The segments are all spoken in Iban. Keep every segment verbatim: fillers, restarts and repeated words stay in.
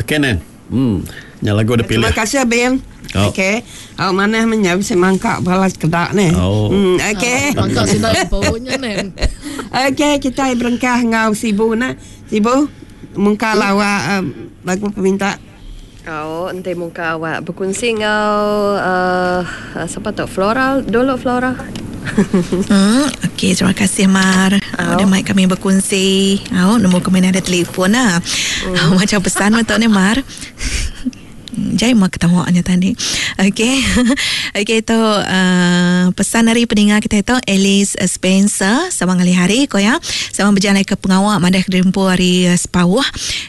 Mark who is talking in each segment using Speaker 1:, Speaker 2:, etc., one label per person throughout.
Speaker 1: Okey nen. Hmm. Nya lagu dipilih.
Speaker 2: Terima kasih Ben.
Speaker 1: Oh.
Speaker 2: Okey. Au manah menya bisi mangka bala sekeda neh.
Speaker 1: Oh.
Speaker 2: Hmm, okey.
Speaker 3: Mangka sida empu nya nen.
Speaker 2: Okey, kita berengkah enggau Sibu nah. Sibu mungka lawa um, lagu peminta.
Speaker 4: Oh, enti mungka awak berkongsi enggau uh, siapa tu? Flora dulu Flora.
Speaker 5: Hmm, okey, terima kasih Mar. Oh. Udah mai kami berkongsi. Oh, nombor kami ada telefon lah. Hmm. Macam pesan untuk ni Mar. Jai mak ketawanya tadi. Okey. Okey tu uh, pesan dari pendengar kita itu Alice Spencer sama ngalih hari ko ya. Sama berjalan ke pengawak madah kedempu hari uh, Sepauh.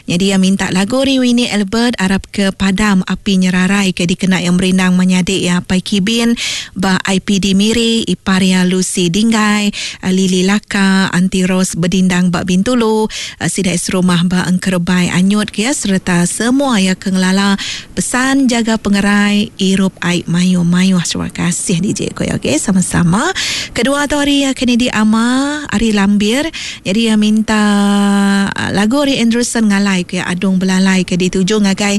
Speaker 5: Jadi dia minta lagu ni Winnie Albert Arab ke Padam Api Nyerarai ke dikena yang merindang menyadik ya Pai Kibin ba I P D Miri Iparia Lucy Dinggai uh, Lili Laka Anti Rose Bedindang ba Bintulu uh, Sidai Serumah ba Engkerbai Anyut ke ya serta semua ya kengelala pesan jaga pengerai irup air mayu-mayu. Terima kasih D J ko ya. Okey, sama-sama. Kedua tu hari Kennedy Ama hari Lambir. Jadi dia minta lagu hari Anderson ngalai ke Adung Belalai ke dituju ngagai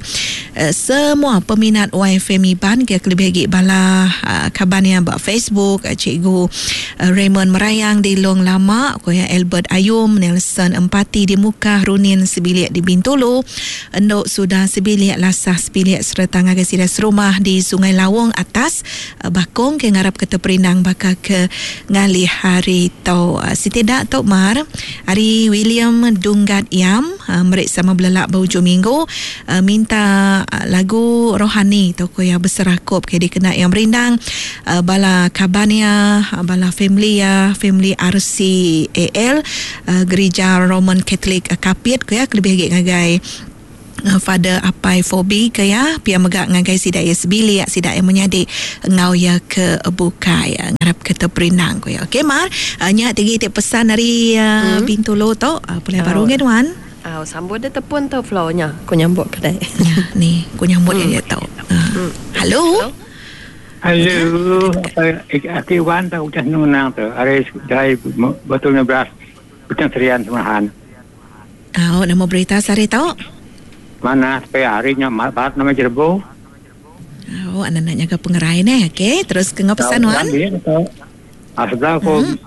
Speaker 5: uh, semua peminat Y F M Iban ke kelebih lagi bala uh, kaban yang buat Facebook uh, Cikgu uh, Raymond Merayang di Long Lama ko ya Albert Ayum Nelson Empati di Mukah Runin Sebilik di Bintulu Endok Sudah Sebilik Lasah Sebilik serta ngagai sida serumah di Sungai Lawong atas Bakong ke ngarap ke terperindang bakal ke ngalih hari tau sitidak tok mar hari William Dunggat Yam merik sama belelak berhujung minggu minta lagu rohani toko ya berserakup ke dikena yang berindang bala kabania bala family ya family R C A L Gereja Roman Catholic Kapit ke ya kelebih lagi ngagai Father Apai Fobi ke ya pia megak ngagai sida ya sebilik sida yang menyadik ngau ya ke bukai ngarap ke terperindang ko ya. Okey Mar nya tiga titik pesan dari uh, hmm. Bintulu tu uh, boleh baru ngan wan.
Speaker 4: Ah sambut dia tepun tau flow-nya ku nyambut kedai.
Speaker 5: Ya ni ku nyambut hmm. dia tau. Uh. Hmm. Halo.
Speaker 6: Halo. Aku Wan tau udah nunang tu. Hari dari betul beras Petang Serian Semahan.
Speaker 5: Ah nama berita sehari tau.
Speaker 6: Mana supaya harinya barat nama Jerbo.
Speaker 5: Oh, anak-anak jaga pengerai ni. Okey, terus ke pesan wan?
Speaker 6: Ah, sebelah aku hmm.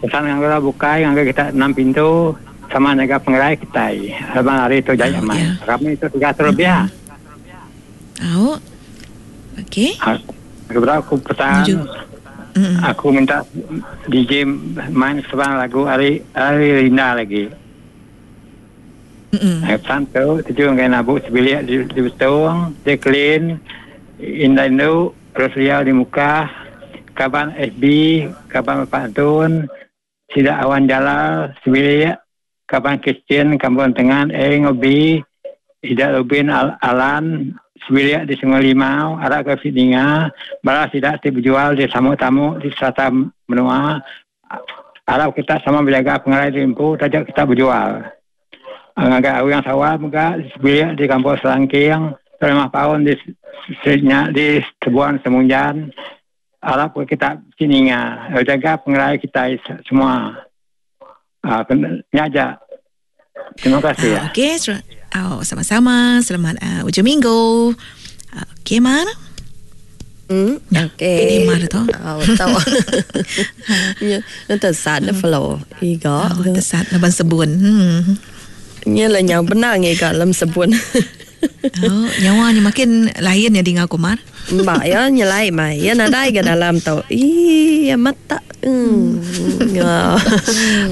Speaker 6: pesan yang kita buka yang kita enam pintu sama jaga pengerai kita. Abang hari itu jaya oh, ya. Kami itu tiga ratus lebih.
Speaker 5: Oh. Okey.
Speaker 6: Ah, sebelah aku pesan. Mm-hmm. Aku minta D J main sebuah lagu hari hari Rinda lagi. Mm-hmm. Pesan tu tujuh dengan nabuk sebilik di, di Betong, Jacqueline, Indah Indu, Rosalia di Muka, Kaban F B, Kaban Bapak Antun, Sida Awan Jalal, sebilik, Kaban Christian, Kampung Tengah, Eng Obi, Ida Rubin Al- Alan, sebilik di Sungai Limau, Arak ke Fidinga, Balas tidak dijual di tamu-tamu di serata menua, Arab kita sama berjaga pengerai di Limpu, tajak kita berjual. Ngagak orang sawah muka sebilik di kampung Selangking, terima paun di di Sebuan Semunjan. Arab kita sininga, jaga pengerai kita semua. Ah, nyaja. Terima kasih.
Speaker 5: Ah, okey, oh, sama-sama. Selamat uh, hujung minggu. Okey, Mar.
Speaker 4: Hmm, okey.
Speaker 5: Ini Mar tu.
Speaker 4: Oh, tahu. Ya, tersat na flow. Iga.
Speaker 5: Oh, tersat laban sebun. Hmm.
Speaker 4: Nya lah nyawa benar ngi kat dalam sebun.
Speaker 5: Oh, nyawa ni makin lain ya dengar Kumar.
Speaker 4: Mbak ya nyelai mai. Ya nadai ke dalam tu. Ih, ya mata. Hmm. Ya.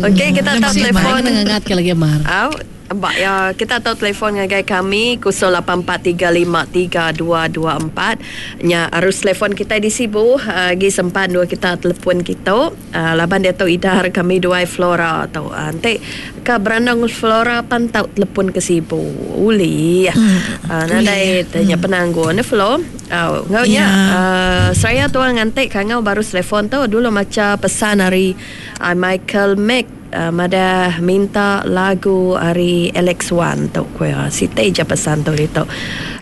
Speaker 4: Okey, kita tahu telefon
Speaker 3: ngengat ke lagi Mar.
Speaker 4: Au, mbak ya, kita tahu telefon ngagai kami kosong lapan empat tiga lima tiga dua dua empat. Nya arus telefon kita di Sibu, uh, gi sempat dua kita telefon kita. Uh, laban dia tahu idar kami dua Flora tau. Uh, nanti ke berandang Flora pantau telefon ke Sibu. Uli. Hmm. Uh, nadai tanya hmm. penangguh ne Flo. Uh, ngau nya yeah. uh, saya tuang ngantik kangau baru telefon tu dulu macam pesan hari uh, Michael Mac. Uh, madah minta lagu hari Alex Wan tu kuya site je pesan tu itu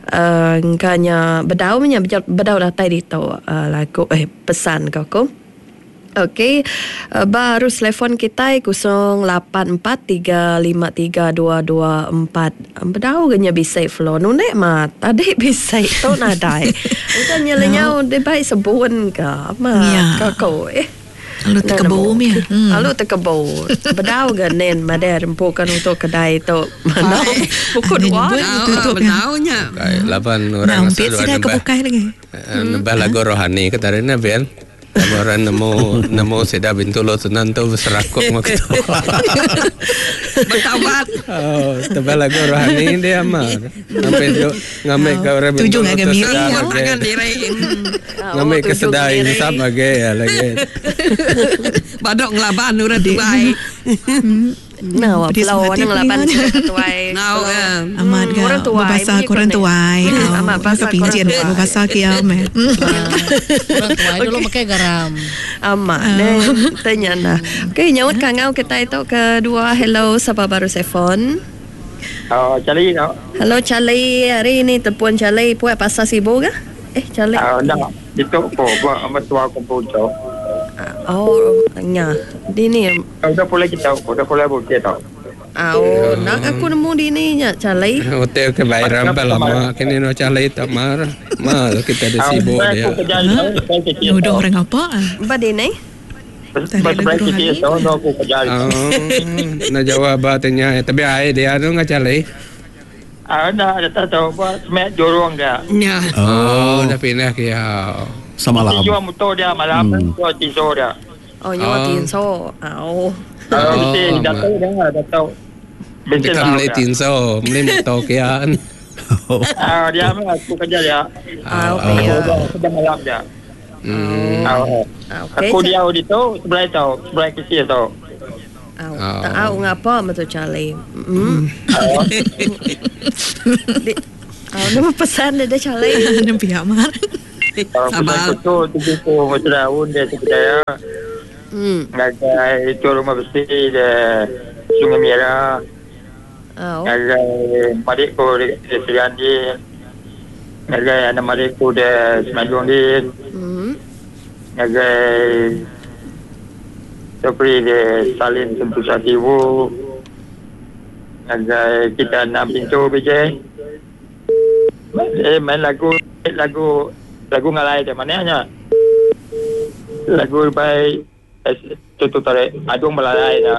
Speaker 4: uh, ngkanya bedau nya bedau datai di tu uh, lagu eh pesan kau ku Okey, uh, baru telefon kita kosong lapan empat tiga lima tiga dua dua empat. Bedau genya bisa flow. Nunek mah tadi bisa tu nadai. Udah nyelenyau dia baik sebun ke ma
Speaker 5: Ya.
Speaker 4: kau eh.
Speaker 5: Lalu terkebau ya. Hmm.
Speaker 4: Lalu terkebau. Bedau ga nen madai rempukan untuk kedai tu. Mana pukul dua.
Speaker 5: Tutup ya.
Speaker 2: Bedaunya.
Speaker 7: Kai laban orang
Speaker 5: Nampit
Speaker 7: selalu
Speaker 5: sudah kebukai lagi.
Speaker 7: Nebah lagu rohani ke tarina ben. Orang nemu nemu seda bintu lo tenan tu serakup ngok tu.
Speaker 2: Bertaubat.
Speaker 7: Oh, tebal lagu rohani dia mar. Sampai tu ngambil ke orang
Speaker 5: Tuju
Speaker 7: bintu
Speaker 5: ngagai
Speaker 7: tu
Speaker 5: miri.
Speaker 7: sedar
Speaker 2: Tangan
Speaker 7: lagi.
Speaker 2: diri.
Speaker 7: Ngambil ke sedar insap lagi ya lagi.
Speaker 2: Badok ngelaban orang tuai.
Speaker 4: Nah, wah,
Speaker 5: Pedis
Speaker 4: pelau
Speaker 5: mati
Speaker 4: orang laban
Speaker 5: peningan.
Speaker 4: tuai.
Speaker 2: Nau, ya.
Speaker 5: Amat
Speaker 4: Hmm,
Speaker 5: ga
Speaker 4: orang tuai
Speaker 5: berbahasa
Speaker 4: punya
Speaker 5: korang
Speaker 4: kena.
Speaker 5: tuai.
Speaker 4: Hmm, amat bahasa
Speaker 5: kepincin
Speaker 4: korang tuai.
Speaker 5: berbahasa kiam eh.
Speaker 3: Orang tuai dulu pakai garam.
Speaker 4: Amat deh. Tanya nah. Okey, nyaut kangau kita itu kedua. Hello, siapa baru telefon?
Speaker 6: Oh, Charlie no.
Speaker 4: Hello Charlie, hari ini telefon Charlie puak pasar Sibu ke? Eh, Charlie.
Speaker 6: Ah, dah. Itu ko buat mertua kumpul tu.
Speaker 4: Oh, nya. Di ni.
Speaker 6: Dah pulai kita, dah pulai bukit tau.
Speaker 4: Oh, nak aku nemu di ni nya Charlie.
Speaker 7: Hotel ke bayar lama kini no cale tak mar. Ma kita di Sibu dia.
Speaker 6: Aku kerja di
Speaker 5: Nuduh orang apa?
Speaker 4: Ba di ni?
Speaker 6: Sebelah kecil tu, aku kerja.
Speaker 7: Oh, nak jawab batnya tapi ai dia tu ngah cale.
Speaker 6: Ah, dah ada tak tahu buat semek jorong dia.
Speaker 2: Ya.
Speaker 7: Oh, dah pindah ke ya.
Speaker 1: Sama lah.
Speaker 6: Jual motor dia malam, jual tiso dia.
Speaker 4: Oh, nyawa
Speaker 7: Oh.
Speaker 4: tinso. Oh.
Speaker 6: Ah,
Speaker 7: Oh,
Speaker 6: mesti dah tahu dah, dah tahu.
Speaker 7: Dekat Malay tinso, Malay motor kian.
Speaker 6: Ah, dia aku kerja dia.
Speaker 4: Ah,
Speaker 7: Oh.
Speaker 4: okey.
Speaker 6: Aku kerja malam dia.
Speaker 7: Hmm.
Speaker 6: Ah,
Speaker 4: Okey.
Speaker 6: Aku dia di tu sebelah tu, sebelah kecil tu.
Speaker 4: Oh,
Speaker 7: Oh.
Speaker 4: tak tahu ngapa betul Charlie. Hmm. Di, oh, nama pesan dia dah Charlie.
Speaker 5: Ada pihak mar.
Speaker 6: Sabar. Tu tujuh puluh macam tahun dia percaya.
Speaker 4: Hmm.
Speaker 6: Ngagai itu rumah besi dia Sungai Merah.
Speaker 4: Oh.
Speaker 6: Ngagai madikku di di Serian di. Ngagai anak madikku di Semenanjung di.
Speaker 4: Hmm.
Speaker 6: Ngagai Seperti di Salin Sentosa Tiwu. Ngagai kita enam pintu B J. Eh main lagu lagu lagu ngalai di mana nya? Lagu by tu tu tarik adung melalai nya.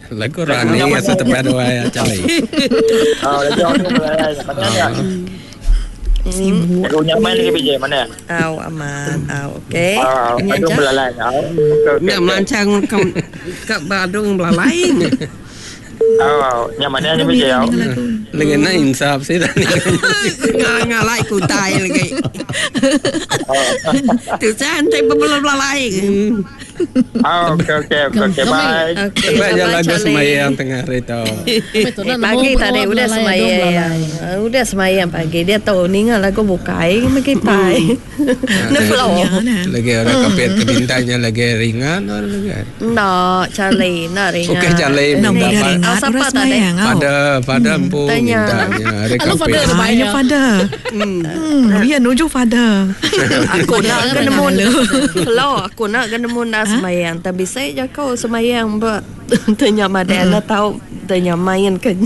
Speaker 7: Lagu rani asa tepat dua ya cale.
Speaker 6: Ah lagu adung melalai nya mana nya? Lagu nyaman lagi B J mana?
Speaker 4: Oh, aman. Oh, okey.
Speaker 6: Ah
Speaker 4: Ini
Speaker 6: adung
Speaker 4: aja.
Speaker 6: melalai nya. Okey okey.
Speaker 2: Nak melancang ke ke Badung belalai.
Speaker 6: Ah nyaman nya B J.
Speaker 7: Lagi nak insaf sih tadi.
Speaker 2: Ngalai kutai lagi. Tu cantik belalai.
Speaker 6: Ah okey okey okey okey bye.
Speaker 4: Okey.
Speaker 7: Sebab aja
Speaker 4: bye,
Speaker 7: lagu
Speaker 4: Charlie.
Speaker 7: semayang tengah hari tu.
Speaker 4: Eh, pagi tadi udah semayang. Ah, Udah semayang pagi. Dia tahu ni ngah lagu bukai kita. Ne flow.
Speaker 7: Lagi orang kapit ke bintangnya lagi ringan orang lagi.
Speaker 4: No, Charlie, nak ringan.
Speaker 7: Okey, Charlie,
Speaker 5: Nak
Speaker 7: minta
Speaker 5: muda
Speaker 7: pa-
Speaker 5: ringan
Speaker 4: Oh, siapa
Speaker 5: orang
Speaker 4: tadi?
Speaker 5: semayang. au.
Speaker 7: Pada pada empu
Speaker 4: Tanya.
Speaker 7: mintanya ada
Speaker 3: Halo,
Speaker 7: kapit.
Speaker 3: Father.
Speaker 5: Ah, ya father. Hmm, ya nuju father.
Speaker 4: Aku nak kena mun. Flow, aku nak kena mun dah semayang. Tapi saya je kau semayang ber tanya madai lah tahu tanya main ke.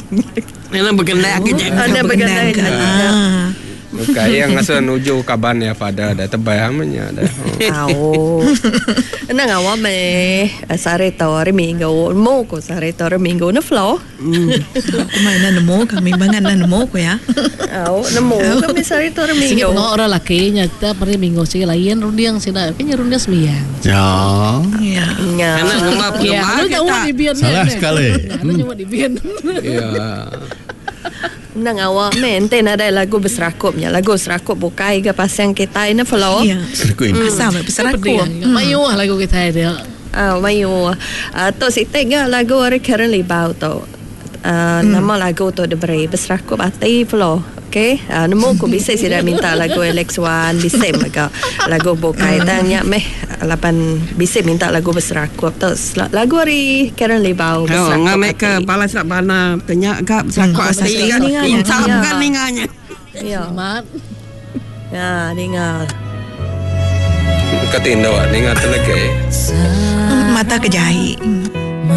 Speaker 2: Ini bergendak ke je.
Speaker 4: Ada bergendang.
Speaker 5: ke. Ah.
Speaker 7: Bukan yang asa nuju kaban ya pada dah tebal amanya dah.
Speaker 4: Au. Nang awak me sare tau hari minggu. Mo ko sare tau hari minggu na flow.
Speaker 5: Aku main nak nemu kami bangan nak nemu ku ya.
Speaker 4: Au, nemu kami sare tau hari
Speaker 3: Sige
Speaker 4: minggu.
Speaker 3: pengok orang laki nyata pari minggu sige lain rundiang sida kayaknya rundiang semiyang.
Speaker 1: Ya.
Speaker 5: Ya.
Speaker 4: Nya.
Speaker 2: Anak ngemah
Speaker 3: Ya,
Speaker 2: pengemah
Speaker 3: lu tahu
Speaker 2: kita.
Speaker 3: di bian.
Speaker 1: Salah sekali.
Speaker 3: Lu cuma di bian.
Speaker 7: Ya.
Speaker 4: Nang awak me ente ada lagu berserakup nya. Lagu serakup bukai ke pasang kita ini flow.
Speaker 5: Ya.
Speaker 1: Serkuin.
Speaker 5: Asal besar aku.
Speaker 3: Mayu lah lagu kita dia.
Speaker 4: Ah, mayu. Ah, tu si tega lagu hari Karen Libau tu. Ah, nama lagu tu diberi berserakup hati flow. Okey, ah, nemu ku bisa sida minta lagu Alex Wan, bisa mega lagu bukai tanya meh lapan bisa minta lagu berserakup tu. Lagu hari Karen Libau
Speaker 2: Oh,
Speaker 4: berserakup.
Speaker 2: ngamek ke
Speaker 4: hati.
Speaker 2: balas nak bana tanya gap sakok
Speaker 5: Hmm.
Speaker 2: asli kan.
Speaker 5: Ninga.
Speaker 2: Insaf
Speaker 4: Ya.
Speaker 2: kan ninganya.
Speaker 4: Ya.
Speaker 3: Selamat.
Speaker 4: Ya, dengar.
Speaker 7: Ketindo ni ngata lagi.
Speaker 5: Mata kejai.